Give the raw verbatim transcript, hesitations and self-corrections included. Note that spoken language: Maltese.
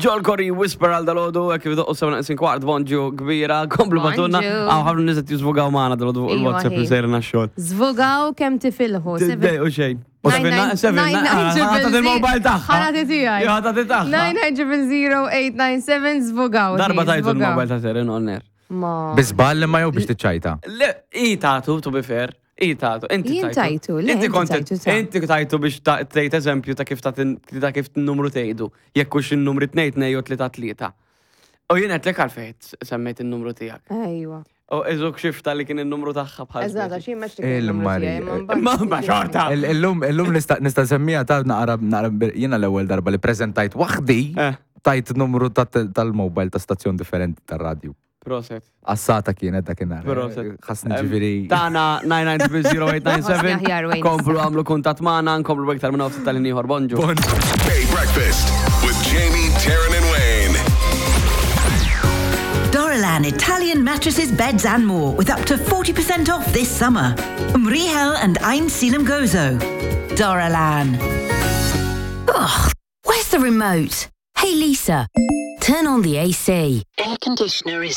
Joel Corry Whisper għal dalgħodu, kif doqqu sebgħa neqsin kwart, bonġu kbira, komplu ibgħatulna. Bonġu. Għaw ħafna nies jiżvogaw magħna dalgħodu fuq Iva, il-WhatsApp li hi. sejrna xogħol. Żvogaw kemm tifilħu. Seven- Dej u xejn. U Nine, seven, nine, seven, nine, nine, ħa tagħti triple il-mobile zero. tagħha. Ħa nagħti tiegħi. Jo, ħa tagħti tagħha. nine nine zero zero eight nine seven, żvogaw. Darba hi, tajtu żvogaw. il-mobile ta' Serin on air. Ma. Bi żball imma jew biex tiċċajta? Le, i tatu, to be fair. I tatu. Inti Jien tajtu, le, Inti inti kont tajtu ta' Inti tajtu biex ta- tgħid eżempju ta' kif ta' ta' kif n-numru tgħidu. Jekk hux in-numri tnejn tnejn jew tlieta tlieta. U jien qed lek għalfejn semmejt in-numru tiegħek. Ejwa. U eżuk xifta li kien in-numru tagħha bħal. Eżatt, speċi. għax jien meċ Il-Mari. Ma ma xorta. Il- Illum illum nista' nista' nsemmija ta' naqra naqra jiena l-ewwel darba li preżentajt waħdi Eh, tajt numru ta' tal-mobile ta' stazzjon differenti tar-radju. Proset. Assata kienet dakinhar. Proset. Ħassni ġifieri. Tana nine nine zero eight nine seven. Aħjar, Wayne. Komplu għamlu kuntatt magħna, nkomplu iktar minn nofs tal ieħor. Bonġu. Bay Breakfast with Jamie, Taryn, and Wayne. Dorolan Italian mattresses, beds and more with up to forty percent off this summer. Mriħel and Għajnsielem Gozo. Dorolan. Ugh, where's the remote? Hey Lisa, turn on the A C. Air conditioner is